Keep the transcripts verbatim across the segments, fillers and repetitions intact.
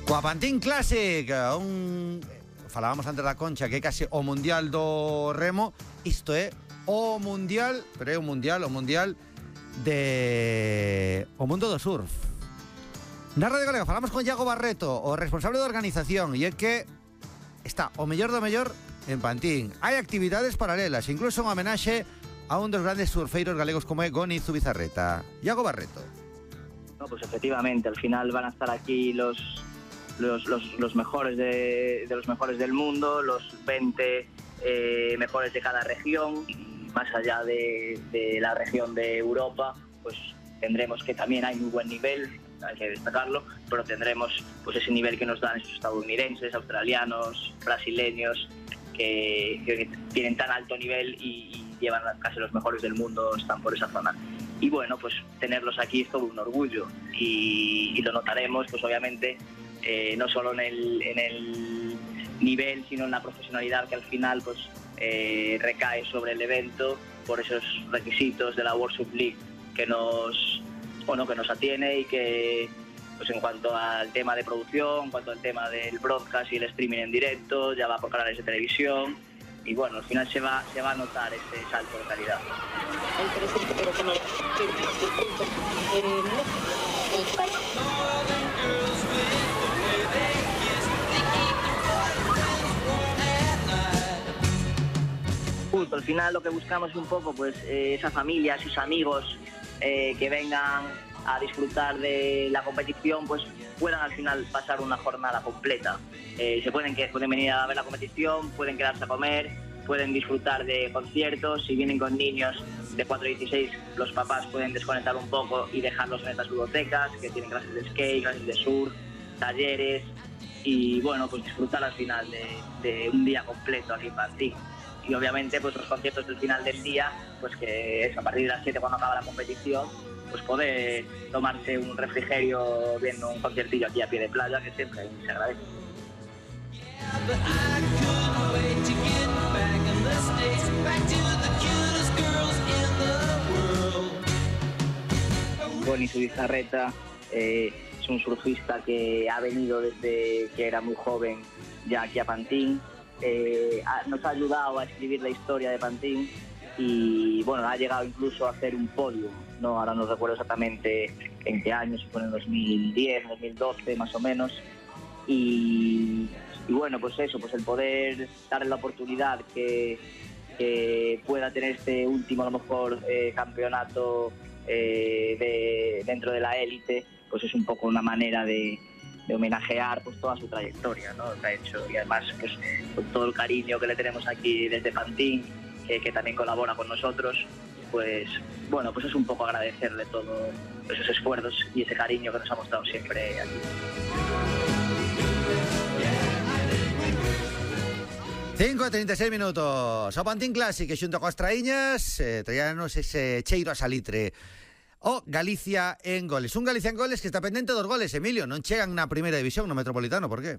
Coa Pantin Classic, un... falábamos antes da Concha que é case o mundial do remo. Isto é o mundial, pero é o mundial, o mundial de o mundo do surf. Na Radio Galega falamos con Iago Barreto, o responsable de organización, e é que está o mellor do mellor en Pantín. Hai actividades paralelas, incluso unha homenaxe a un dos grandes surfeiros galegos como é Goni Zubizarreta. Iago Barreto. No, pues efectivamente, al final van a estar aquí los los, los, los mejores de, de los mejores del mundo, los veinte eh, mejores de cada región, y más allá de, de la región de Europa, pues tendremos que también hay muy buen nivel, hay que destacarlo, pero tendremos pues ese nivel que nos dan esos estadounidenses, australianos, brasileños, que, que tienen tan alto nivel y, y llevan casi los mejores del mundo, están por esa zona. Y bueno, pues tenerlos aquí es todo un orgullo y, y lo notaremos, pues obviamente, eh, no solo en el, en el nivel, sino en la profesionalidad que al final pues eh, recae sobre el evento por esos requisitos de la World Surf League que nos, bueno, que nos atiene y que pues en cuanto al tema de producción, en cuanto al tema del broadcast y el streaming en directo, ya va por canales de televisión. Y bueno, al final se va, se va a notar ese salto de calidad. Justo, al final lo que buscamos es un poco pues eh, esa familia, esos amigos eh, que vengan a disfrutar de la competición, pues puedan al final pasar una jornada completa. Eh, se pueden, que, pueden venir a ver la competición, pueden quedarse a comer, pueden disfrutar de conciertos. Si vienen con niños de cuatro a dieciséis, los papás pueden desconectar un poco y dejarlos en estas bibliotecas que tienen clases de skate, clases de surf, talleres y bueno, pues disfrutar al final de, de un día completo aquí en Pantín. Y obviamente pues los conciertos del final del día, pues que es a partir de las siete cuando acaba la competición, pues poder tomarse un refrigerio viendo un conciertillo aquí a pie de playa, que siempre se agradece. Goni Zubizarreta eh, es un surfista que ha venido desde que era muy joven ya aquí a Pantín. Eh, ha, nos ha ayudado a escribir la historia de Pantín y bueno, ha llegado incluso a hacer un podio, no, ahora no recuerdo exactamente en qué año, si fue en dos mil diez, dos mil doce más o menos, y, y bueno, pues eso, pues el poder darle la oportunidad que, que pueda tener este último a lo mejor eh, campeonato eh, de, dentro de la élite, pues es un poco una manera de de homenajear pues toda su trayectoria, ¿no? Que ha hecho, y además pues con todo el cariño que le tenemos aquí desde Pantín, que, que también colabora con nosotros, pues bueno, pues es un poco agradecerle todos esos esfuerzos y ese cariño que nos ha mostrado siempre aquí. cinco e trinta e seis minutos. O Pantín Classic, que xunto coas traíñas eh, traíanos ese cheiro a salitre. O Galicia en goles. Un Galicia en goles que está pendente dos goles, Emilio. Non chegan na primeira división, no Metropolitano, por qué?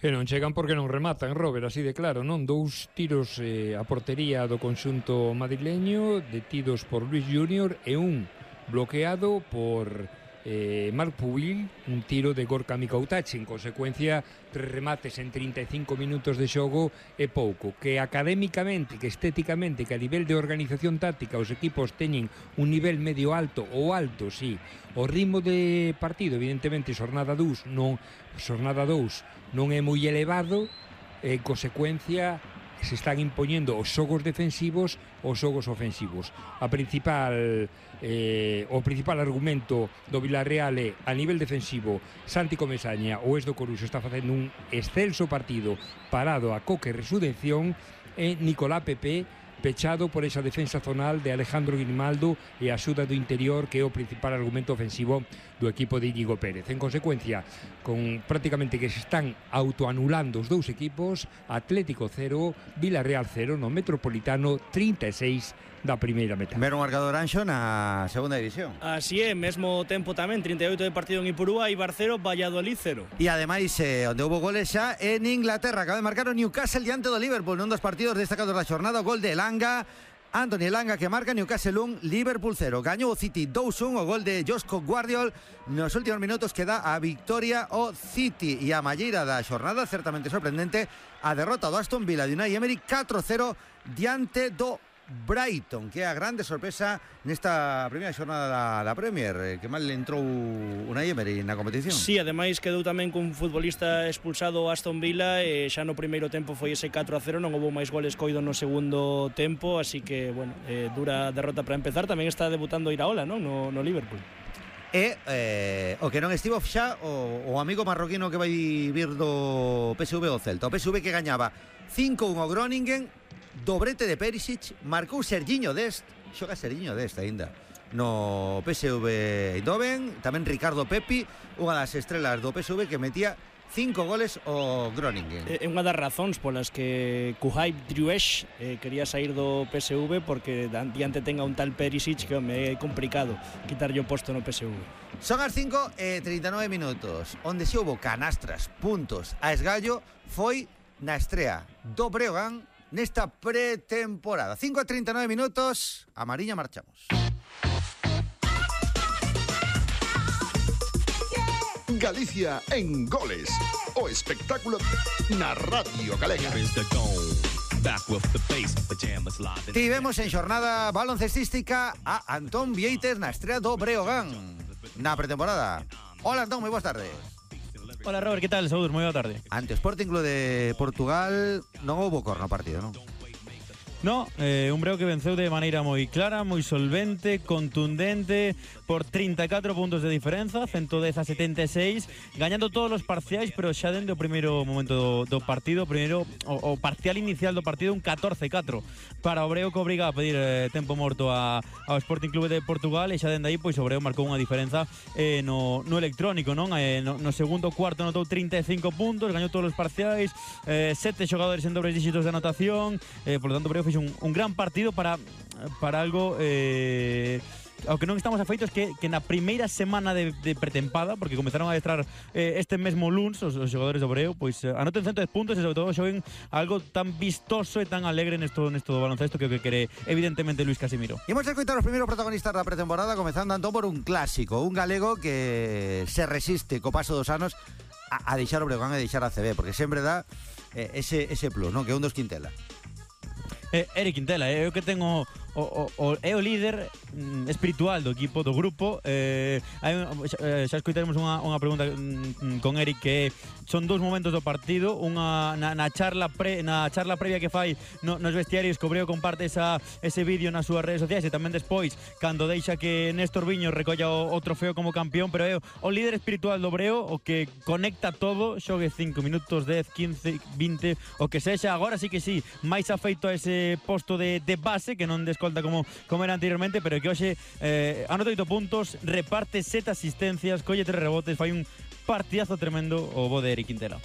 E non chegan porque non rematan, Robert, así de claro, non? Dous tiros eh, a portería do conxunto madrileño, detidos por Luis Junior, e un bloqueado por eh, Marc Pubil, un tiro de Gorka Mikautach. En consecuencia, tres remates en trinta e cinco minutos de xogo é pouco. Que académicamente, que estéticamente, que a nivel de organización táctica os equipos teñen un nivel medio alto ou alto, sí. O ritmo de partido, evidentemente, xornada dous non, xornada dous non é moi elevado, en consecuencia se están impoñendo os xogos defensivos os xogos ofensivos. A principal eh, o principal argumento do Villarreal é a nivel defensivo. Santi Comesaña, o ex do Coruxo, está facendo un excelso partido parado a coque e resurrección, e Nicolás Pepe pechado por esa defensa zonal de Alejandro Grimaldo e a axuda do interior, que é o principal argumento ofensivo do equipo de Íñigo Pérez. En consecuencia, con prácticamente que se están autoanulando os dous equipos, Atlético cero, Villarreal cero, no Metropolitano trinta e seis da primeira metade. Ver un marcador anxo na segunda división. Así é, mesmo tempo tamén, trinta e oito de partido en Ipurúa, Eibar cero, Valladolid cero. E ademais, eh, onde houve goles xa en Inglaterra, acaba de marcar o Newcastle diante do Liverpool nun dos partidos destacados da xornada, o gol de Elanga Anthony Elanga que marca, Newcastle un, Liverpool cero. Gañou o City dous un, o gol de Josko Guardiol nos últimos minutos que dá a victoria o City. E a malleira da xornada, certamente sorprendente, a derrota do Aston Villa de Unai Emery catro cero diante do Brighton, que é a grande sorpresa nesta primeira xornada da, da Premier, que mal entrou Unai Emery na competición. Sí, ademais quedou tamén cun futbolista expulsado o Aston Villa e xa no primeiro tempo foi ese catro a cero, non houve máis goles coido no segundo tempo, así que, bueno, eh, dura derrota para empezar. Tamén está debutando Iraola, non? No, no Liverpool. E eh, o que non estivo xa o, o amigo marroquino que vai vir do P S V o Celta. O P S V que gañaba cinco un ao Groningen, dobrete de Perisic, marcou Sergiño Dest, xoga Sergiño Dest aínda no P S V Eindhoven, tamén Ricardo Pepi, unha das estrelas do P S V que metía cinco goles o Groningen. É unha das razóns polas que Kuhaj Driouech eh, quería sair do P S V, porque diante tenga un tal Perisic que home, é complicado quitarlle o posto no P S V. Son as cinco e trinta e nove minutos. Onde se houbo canastras, puntos a esgallo foi na estrea do Breogán nesta pretemporada. cinco e trinta e nove minutos, a Mariña marchamos. Galicia en goles, o espectáculo na Radio Galega. Tivemos en xornada baloncestística a Antón Vieites na estrea do Breogán na pretemporada. Hola Antón, moi boas tardes. Hola Robert, que tal? Saúdos, moi boa tarde. Ante o Sporting Club de Portugal non houbo cor no partido, non? No, eh, un Breo que venceu de maneira moi clara, moi solvente, contundente, por trinta e catro puntos de diferenza, ciento dez a setenta e seis, gañando todos os parciais, pero xa dende o primeiro momento do, do partido, primeiro o, o parcial inicial do partido, un catorce catro para o Breo, que obriga a pedir eh, tempo morto a, ao Sporting Club de Portugal, e xa dende aí pois o Breo marcou unha diferenza eh, no, no electrónico, non? Eh, no, no segundo cuarto notou trinta e cinco puntos, gañou todos os parciais, eh, sete xogadores en dobles dígitos de anotación, eh, por lo tanto o Breo fixo un, un gran partido para, para algo eh, ao que non estamos afeitos, que, que na primeira semana de, de pretempada, porque comenzaron a adestrar eh, este mesmo luns os, os xogadores do Breo, pois eh, anoten cento de puntos e sobre todo xoen algo tan vistoso e tan alegre nesto, nesto do baloncesto que o que quere evidentemente Luis Casimiro. Imos a escoitar os primeiros protagonistas da pretemporada, comezando Antón por un clásico, un galego que se resiste co paso dos anos a, a deixar o Breogán e deixar a C B, porque sempre dá eh, ese, ese plus, non? Que é un dos Quintela. Eh, Eric Quintela, é eh, o que ten o, o, o, é o líder mm, espiritual do equipo, do grupo. eh, hai, eh, xa escoitaremos unha, unha pregunta mm, con Eric, que son dous momentos do partido, unha na, na charla pre, na charla previa que fai no, nos vestiarios, que o Breo comparte esa, ese vídeo nas súas redes sociais, e tamén despois cando deixa que Néstor Viño recolla o, o trofeo como campeón, pero é o, o líder espiritual do Breo, o que conecta todo, xogue cinco minutos, dez, quince, vinte, o que sexa. Agora sí que sí, máis afeito a ese posto de, de base, que non de escolta como, como era anteriormente, pero que hoxe eh, anota oito puntos, reparte sete asistencias, colle tres rebotes, fai un partidazo tremendo o bo de Eric Quintela.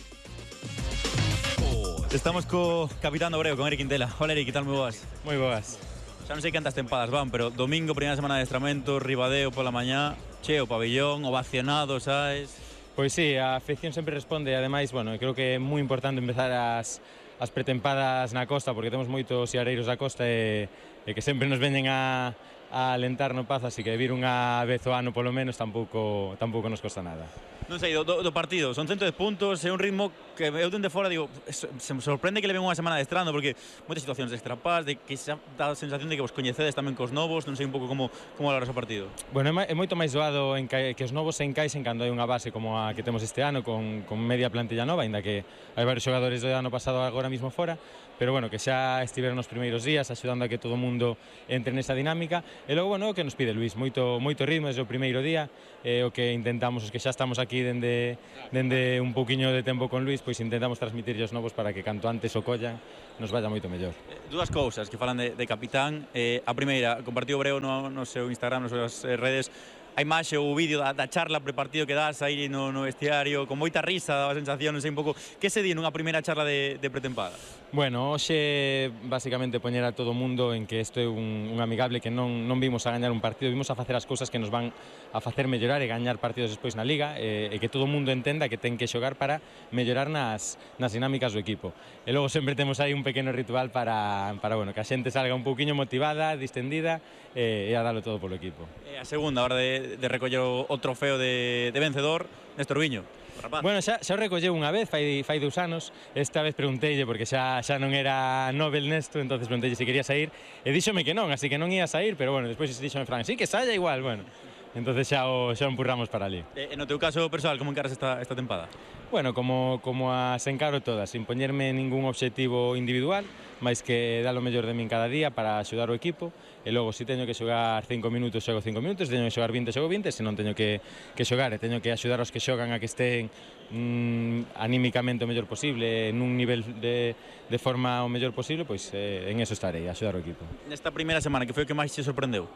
Estamos co capitán do Breo, con Eric Quintela. Hola Eric, que tal? Moi boas. Moi boas. Xa non sei cantas tempadas van, pero domingo, primeira semana de adestramento, Ribadeo pola mañá, cheo pabellón, ovacionado, sabes? Pois sí, a afección sempre responde, ademais, bueno, creo que é moi importante empezar as as pretempadas na costa, porque temos moitos siareiros da costa e, e que sempre nos veñen a, a alentar no Pazo, así que vir unha vez ao ano polo menos tampouco, tampouco nos costa nada. Non sei, do, do partido, son cento de puntos, é un ritmo que eu dende fora digo, se me sorprende que le ven unha semana adestrando, porque moitas situacións extrapás, de que xa dá a sensación de que vos coñecedes tamén cos novos, non sei un pouco como, como valoras o partido. Bueno, é, é moito máis doado en que, que os novos se encaixen cando hai unha base como a que temos este ano, con, con media plantilla nova, ainda que hai varios xogadores do ano pasado agora mismo fora, pero bueno, que xa estiveron nos primeiros días axudando a que todo o mundo entre nesa dinámica. E logo, bueno, o que nos pide Luis, moito, moito ritmo desde o primeiro día, e o que intentamos, os que xa estamos aquí dende, dende un pouquiño de tempo con Luis, pois intentamos transmitir os novos para que canto antes o collan nos vaya moito mellor. Dúas cousas que falan de, de capitán. Eh, a primeira, compartiu o Breo no, no seu Instagram, nas súas redes, a imaxe ou o vídeo da, da charla prepartido que das aí no, no vestiario, con moita risa, daba a sensación, non sei un pouco, que se di nunha primeira charla de, de pretempada? Bueno, hoxe basicamente poñer a todo o mundo en que isto é un, un amigable, que non, non vimos a gañar un partido, vimos a facer as cousas que nos van a facer mellorar e gañar partidos despois na Liga, e, e que todo o mundo entenda que ten que xogar para mellorar nas, nas dinámicas do equipo. E logo sempre temos aí un pequeno ritual para, para bueno, que a xente salga un pouquiño motivada, distendida e, e a dalo todo polo equipo. E a segunda, a hora de, de recoller o, o trofeo de, de vencedor, Néstor Viño. Rapaz. Bueno, xa, xa o recolleu unha vez, fai, fai dous anos. Esta vez pregunteille, porque xa, xa non era Nobel nesto, entonces pregunteille se quería sair, e díxome que non, así que non ia sair, pero bueno, despois díxome Fran, sí, que saia igual, bueno. Entonces xa o, xa o empurramos para ali. E no teu caso persoal, como encaras esta, esta tempada? Bueno, como, como as encaro todas, sin poñerme ningún obxectivo individual, máis que dar o mellor de min cada día para axudar o equipo, e logo, se teño que xogar cinco minutos, xogo cinco minutos, se teño que xogar vinte, xogo vinte, se non teño que, que xogar e teño que axudar aos que xogan a que estén mm, anímicamente o mellor posible, nun nivel de, de forma o mellor posible, pois eh, en eso estarei, a axudar o equipo. Nesta primeira semana, que foi o que máis te sorprendeu?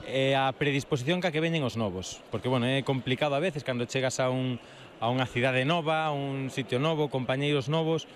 É a predisposición ca que veñen os novos, porque, bueno, é complicado a veces cando chegas a un a unha cidade nova, a un sitio novo, compañeiros novos,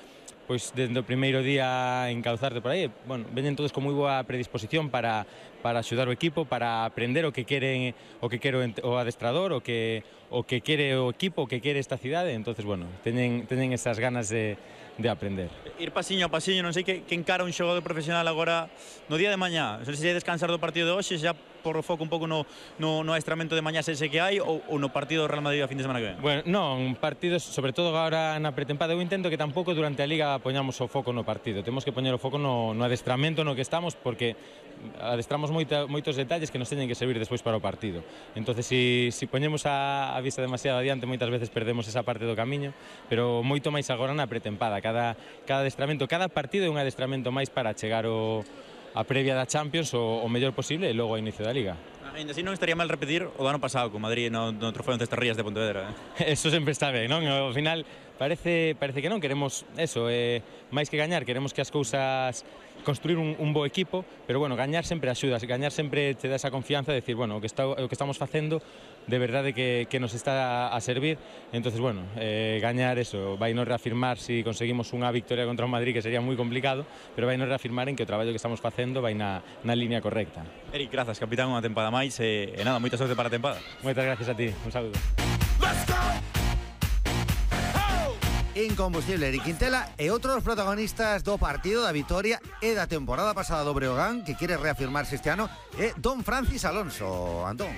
pois desde o primeiro día encauzarte por aí. Bueno, veñen todos con moi boa predisposición para para axudar o equipo, para aprender o que queren, o que quere o adestrador, o que o que quere o equipo, o que quere esta cidade. Entonces, bueno, teñen teñen esas ganas de de aprender. Ir pasiño a pasiño, non sei que, que encara un xogador profesional agora no día de mañá. Non sei se descansar do partido de hoxe, xa por o foco un pouco no, no, no adestramento de mañá ese que hai, ou, ou no partido do Real Madrid a fin de semana que ven? Bueno, non, partidos, sobre todo agora na pretempada, eu intento que tampouco durante a Liga poñamos o foco no partido. Temos que poñer o foco no, no adestramento no que estamos, porque adestramos moita, moitos detalles que nos teñen que servir despois para o partido. Entonces, si, si poñemos a, a vista demasiado adiante, moitas veces perdemos esa parte do camiño, pero moito máis agora na pretempada. Cada, cada adestramento, cada partido é un adestramento máis para chegar o, a previa da Champions o, o mellor posible e logo ao inicio da Liga. Ainda así non estaría mal repetir o do ano pasado con Madrid no, no trofeo en Cestarrías de Pontevedra, eh? Eso sempre está ben, non? Ao final parece, parece que non, queremos eso, eh, máis que gañar, queremos que as cousas construir un, un bo equipo, pero bueno, gañar sempre axuda, gañar sempre te dá esa confianza de decir, bueno, o que, está, o que estamos facendo de verdade que, que nos está a servir. Entonces, bueno, eh, gañar eso, vai nos reafirmar si conseguimos unha victoria contra o Madrid, que sería moi complicado, pero vai nos reafirmar en que o traballo que estamos facendo vai na, na línea correcta. Eric, grazas, capitán, unha tempada máis, e, e nada, moita sorte para a tempada. Moitas gracias a ti, un saludo. Incombustible, Eric Quintela e outro dos protagonistas do partido da vitoria e da temporada pasada do Breogán, que quere reafirmarse este ano, é Don Francis Alonso. Antón.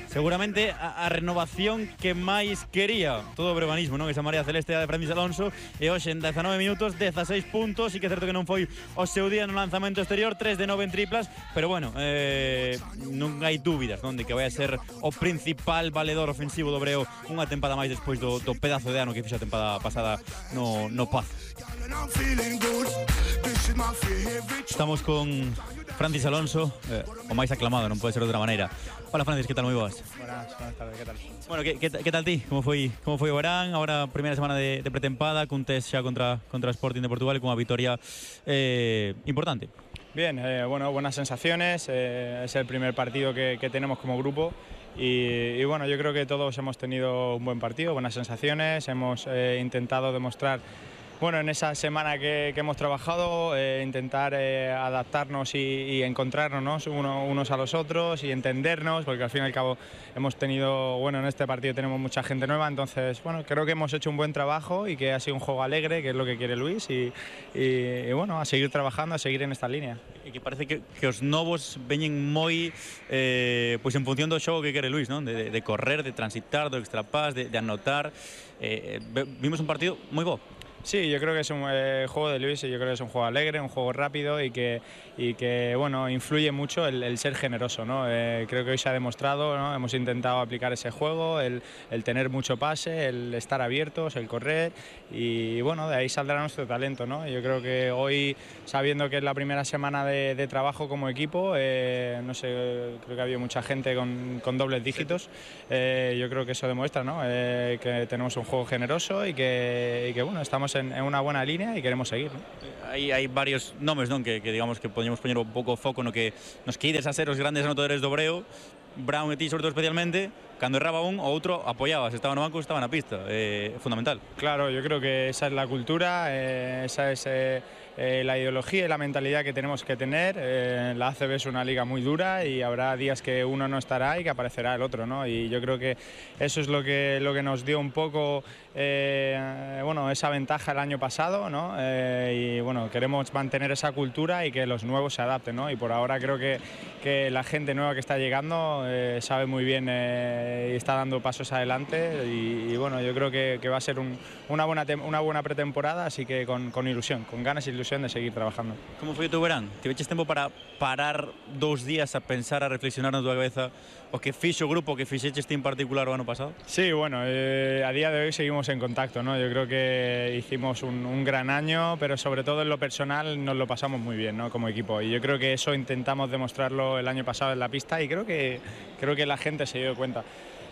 Seguramente a, a renovación que máis quería todo o breoganismo, non? Esa María Celeste de Francis Alonso, e hoxe en dezanove minutos, dezaseis puntos, e que é certo que non foi o seu día no lanzamento exterior, tres de nove en triplas, pero bueno, eh, non hai dúbidas, non, de que vai a ser o principal valedor ofensivo do Breo unha tempada máis despois do, do pedazo de ano que fixo a tempada pasada no, no Paz. Estamos con Francis Alonso, eh, o máis aclamado, non pode ser de outra maneira. Hola Francis, que tal? Moi boas. Buenas, buenas tardes, que tal? Bueno, que, que, que tal ti? Como foi como foi o verán? Agora primeira semana de, de pretempada, cun test xa contra, contra Sporting de Portugal e cunha vitoria eh, importante. Bien, eh, bueno, buenas sensaciones, eh, es el primer partido que, que tenemos como grupo. Y, y bueno, yo creo que todos hemos tenido un buen partido, buenas sensaciones, hemos eh, intentado demostrar, bueno, en esa semana que, que hemos trabajado, eh, intentar eh, adaptarnos y, y encontrarnos uno, unos a los otros y entendernos, porque al fin y al cabo hemos tenido, bueno, en este partido tenemos mucha gente nueva, entonces, bueno, creo que hemos hecho un buen trabajo y que ha sido un juego alegre, que es lo que quiere Luis, y, y, y bueno, a seguir trabajando, a seguir en esta línea. E que parece que, que os novos veñen moi eh, pois en función do xogo que quere Luis, non? De, de correr, de transitar, do extrapás, de, de anotar. Eh, vimos un partido moi bo. Sí, yo creo que es un eh, juego de Luis y yo creo que es un juego alegre, un juego rápido y que, y que bueno, influye mucho el, el ser generoso, ¿no? Eh, creo que hoy se ha demostrado, ¿no? Hemos intentado aplicar ese juego, el, el tener mucho pase, el estar abiertos, el correr y bueno, de ahí saldrá nuestro talento, ¿no? Yo creo que hoy, sabiendo que es la primera semana de, de trabajo como equipo, eh, no sé, creo que ha habido mucha gente con, con dobles dígitos, eh, yo creo que eso demuestra, ¿no? Eh, que tenemos un juego generoso y que, y que bueno, estamos en, en unha buena línea e queremos seguir, ¿no? Hai, hai varios nomes, non, que, que digamos que podemos poñer un pouco foco no que nos que ides a ser os grandes anotadores do Breo. Brown e ti, sobre todo especialmente, cando erraba un, o outro apoyaba, se estaba no banco, estaba na pista, eh, fundamental. Claro, yo creo que esa es la cultura, eh, esa es eh, eh, la ideología y la mentalidad que tenemos que tener. Eh, la A C B es una liga muy dura y habrá días que uno no estará y que aparecerá el otro, ¿no? Y yo creo que eso es lo que, lo que nos dio un poco eh, bueno, esa ventaja el año pasado, ¿no? Eh, y bueno, queremos mantener esa cultura y que los nuevos se adapten, ¿no? Y por ahora creo que, que la gente nueva que está llegando eh, sabe muy bien eh, y está dando pasos adelante y, y bueno, yo creo que, que va a ser un, una, buena una buena pretemporada, así que con, con ilusión, con ganas e ilusión de seguir trabajando. Como foi o teu verán? Tiveches tempo para parar dous días a pensar, a reflexionar na tua cabeza o que fixo o grupo, o que fixeches ti en particular o ano pasado? Sí, bueno, eh, a día de hoy seguimos en contacto, ¿no? Yo creo que hicimos un, un gran año, pero sobre todo en lo personal nos lo pasamos muy bien, ¿no? Como equipo, y yo creo que eso intentamos demostrarlo el año pasado en la pista y creo que, creo que la gente se dio cuenta.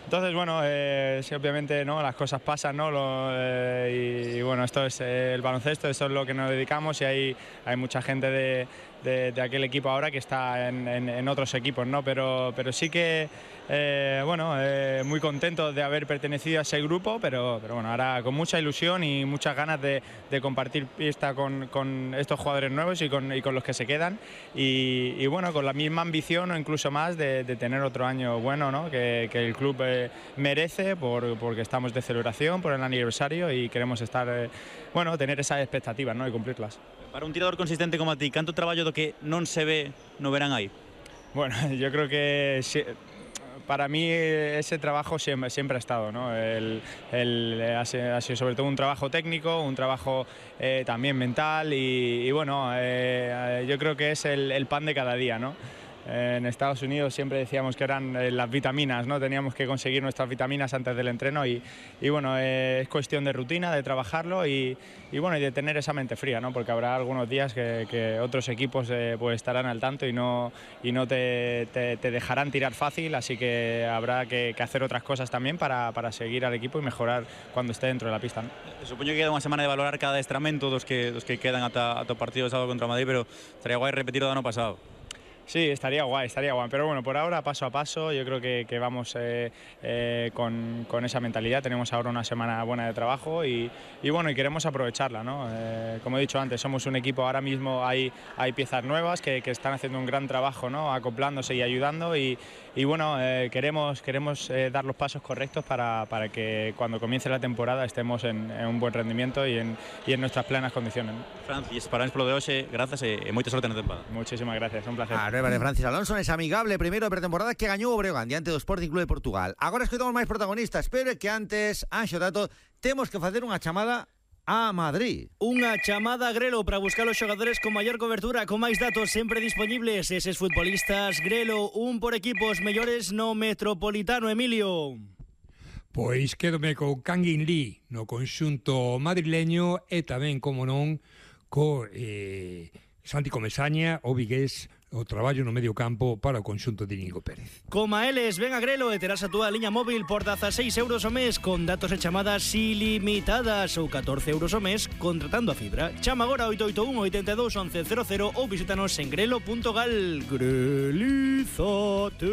Entonces, bueno, eh, sí, obviamente, ¿no? Las cosas pasan, ¿no? Lo, eh, y, y bueno, esto es eh, el baloncesto, esto es lo que nos dedicamos y hay, hay mucha gente de, de, de aquel equipo ahora que está en, en, en otros equipos, ¿no? Pero, pero sí que, eh, bueno, eh, muy contento de haber pertenecido a ese grupo, pero, pero bueno, ahora con mucha ilusión y muchas ganas de, de compartir pista con, con estos jugadores nuevos y con, y con los que se quedan y, y bueno, con la misma ambición o incluso más de, de tener otro año bueno, ¿no? Que, que el club eh, merece por, porque estamos de celebración por el aniversario y queremos estar, eh, bueno, tener esas expectativas, ¿no? Y cumplirlas. Para un tirador consistente como a ti, canto traballo do que non se ve no verán aí? Bueno, yo creo que si, para mí ese trabajo siempre, siempre ha estado, ¿no? El, el, ha, sido, ha sido sobre todo un trabajo técnico, un trabajo eh, también mental y, y bueno, eh, yo creo que es el, el pan de cada día, ¿no? En Estados Unidos siempre decíamos que eran las vitaminas, ¿no? Teníamos que conseguir nuestras vitaminas antes del entreno y, y bueno, eh, es cuestión de rutina, de trabajarlo y, y bueno, y de tener esa mente fría, ¿no? Porque habrá algunos días que, que otros equipos eh, pues estarán al tanto y no, y no te, te, te dejarán tirar fácil, así que habrá que, que hacer otras cosas también para, para seguir al equipo y mejorar cuando esté dentro de la pista, ¿no? Supoño que queda unha semana de valorar cada adestramento dos que, dos que quedan ata, ata o partido de sábado contra Madrid, pero estaría guai repetir o do ano pasado. Sí, estaría guay, estaría guay, pero bueno, por ahora paso a paso, yo creo que, que vamos eh, eh, con, con esa mentalidad, tenemos ahora una semana buena de trabajo y, y bueno, y queremos aprovecharla, ¿no? Eh, como he dicho antes, somos un equipo, ahora mismo hay, hay piezas nuevas que, que están haciendo un gran trabajo, ¿no? Acoplándose y ayudando y, y bueno, eh, queremos, queremos eh, dar los pasos correctos para, para que cuando comience la temporada estemos en, en un buen rendimiento y en, y en nuestras plenas condiciones, ¿no? Francis, parabéns polo de hoxe, grazas e moita sorte na temporada. Muchísimas gracias, un placer. A nueva de Francis Alonso es amigable primeiro de pretemporada que gañou o Breogán diante do Sporting Club de Portugal. Agora escoitamos máis protagonistas, pero é que antes, Anxo Tato, temos que facer unha chamada a Madrid. Unha chamada a Grelo para buscar os xogadores con maior cobertura, con máis datos sempre disponibles. Eses futbolistas Grelo, un por equipos mellores no Metropolitano, Emilio. Pois quédome co Kangin Lee no conxunto madrileño e tamén, como non, co eh, Santi Comesaña, o vigués, o traballo no medio campo para o conxunto de Íñigo Pérez. Coma eles, ven a Grelo e terás a túa liña móvil por dezaseis euros o mes con datos e chamadas ilimitadas ou catorce euros o mes contratando a fibra. Chama agora oito oito un, oito dous, once cero cero ou visítanos en grelo punto gal. Grelízate.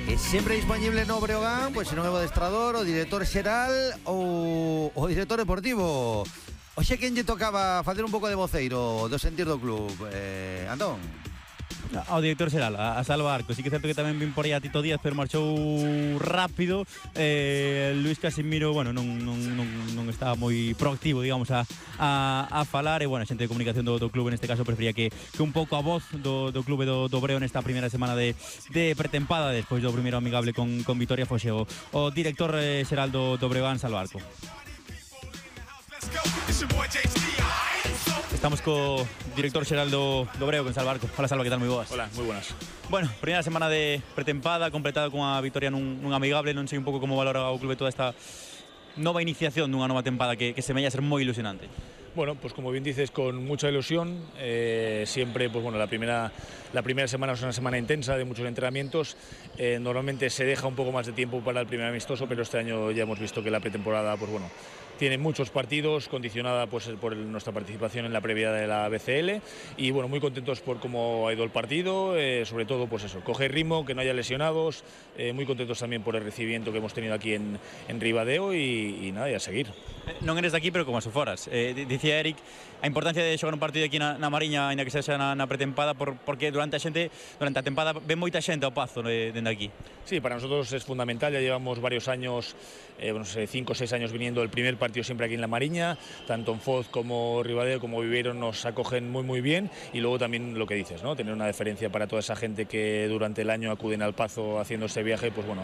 E sempre disponible no Breogán, pois se non é o adestrador, o director xeral ou o director deportivo. Oxe, quen lle tocaba facer un pouco de voceiro do sentir do club? Eh, Antón? Ao director xeral, a Salva Arco. Sí que é certo que tamén vin por aí a Tito Díaz, pero marchou rápido. eh, Luis Casimiro, bueno, non, non, non, non estaba moi proactivo, digamos, a, a, a falar. E, bueno, a xente de comunicación do, do club neste caso prefería que, que un pouco a voz do, do clube do, do Breo nesta primeira semana de, de pretempada, despois do primeiro amigable con, con Vitoria, foxe o, o director eh, xeral do, do Breogán, Salva Arco. Estamos co director xeral do, do Breo, con Salva Arco. Hola, Salva, que tal? Moi boas. Hola, moi buenas. Bueno, primeira semana de pretempada, completada con a vitoria nun, nun amigable. Non sei un pouco como valora o clube toda esta nova iniciación dunha nova tempada que, que semella ser moi ilusionante. Bueno, pues como bien dices, con mucha ilusión, eh, siempre, pues bueno, la primera, la primera semana es una semana intensa de muchos entrenamientos, eh, normalmente se deja un poco más de tiempo para el primer amistoso, pero este año ya hemos visto que la pretemporada, pues bueno, tiene muchos partidos, condicionada pues por el, nuestra participación en la previa de la B C L y bueno, muy contentos por cómo ha ido el partido, eh, sobre todo pues eso, coger ritmo, que no haya lesionados, eh, muy contentos también por el recibimiento que hemos tenido aquí en, en Ribadeo y, y nada, y a seguir. Non eres daqui, pero como se foras. Eh, dicía Eric a importancia de xogar un partido aquí na, na Mariña, ainda que sexa na, na pretempada, por, porque durante a xente, durante a tempada ven moita xente ao Pazo eh, dende aquí. Sí, para nosotros es fundamental, ya llevamos varios años, eh, no sé, cinco o seis años viniendo el primer partido siempre aquí en la Mariña, tanto en Foz como Ribadeo como Viveiro nos acogen muy muy bien y luego también lo que dices, ¿no? Tener una deferencia para toda esa gente que durante el año acuden al Pazo haciendo este viaje, pues bueno,